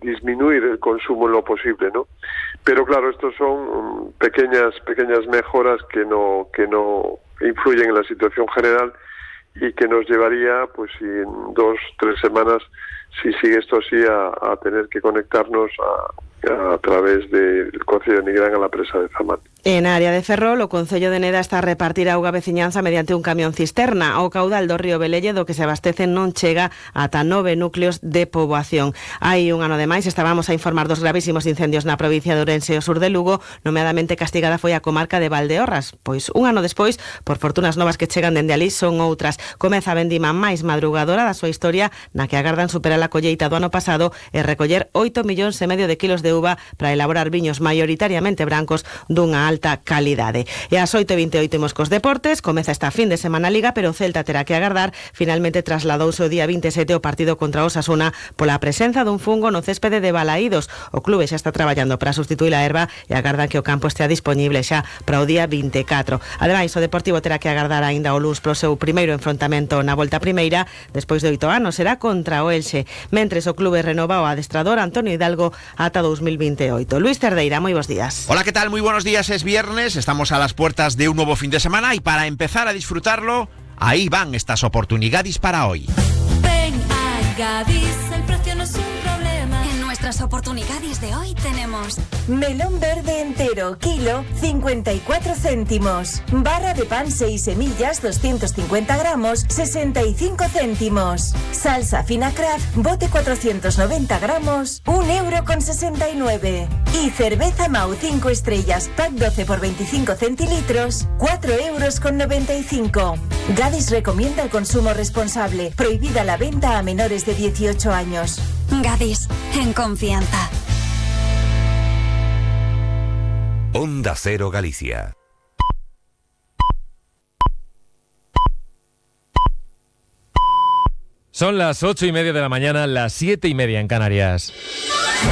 disminuir el consumo en lo posible, ¿no? Pero claro, estos son pequeñas mejoras que no influyen en la situación general y que nos llevaría, pues si en 2-3 semanas, si sigue esto así, a tener que conectarnos a través del Concello de Nigrán a la presa de Zamán. En área de Ferrol, o Concello de Neda está a repartir auga veciñanza mediante un camión cisterna. O caudal do río Velelle do que se abastece non chega ata 9 núcleos de poboación. Hai un ano de máis, estábamos a informar dos gravísimos incendios na provincia de Ourense e o sur de Lugo, nomeadamente castigada foi a comarca de Valdeorras. Pois un ano despois, por fortunas novas que chegan dende alí, son outras. Comeza a vendima máis madrugadora da súa historia, na que agardan superar a colleita do ano pasado e recoller 8,5 millóns de kilos de uva para elaborar viños maioritariamente brancos dunha alta calidade. E ás 8:28 imos cos deportes. Comeza esta fin de semana a Liga, pero o Celta terá que agardar. Finalmente trasladouse o día 27 o partido contra o Osasuna pola presenza dun fungo no céspede de Balaídos. O clube xa está traballando para sustituir a erva e agardan que o campo estea disponible xa para o día 24. Ademais, o Deportivo terá que agardar aínda o luns pro seu primeiro enfrontamento na volta primeira. Despois de 8 anos será contra o Elxe. Mentres o clube renova o adestrador Antonio Hidalgo ata 2028. Luis Cerdeira, moi bons días. Hola, ¿qué tal? Muy buenos días. Es viernes, estamos a las puertas de un nuevo fin de semana y para empezar a disfrutarlo, ahí van estas oportunidades para hoy. Ven a Gadis, el precio no es un problema. En nuestras oportunidades de hoy tenemos melón verde entero, kilo, 54 céntimos. Barra de pan 6 semillas, 250 gramos, 65 céntimos. Salsa fina Kraft, bote 490 gramos, 1,69 €. Y cerveza Mau 5 estrellas, pack 12 por 25 centilitros, 4,95 €. Gadis recomienda el consumo responsable. Prohibida la venta a menores de 18 años. Gadis, en confianza. Onda Cero Galicia. Son las 8:30 de la mañana, las 7:30 en Canarias.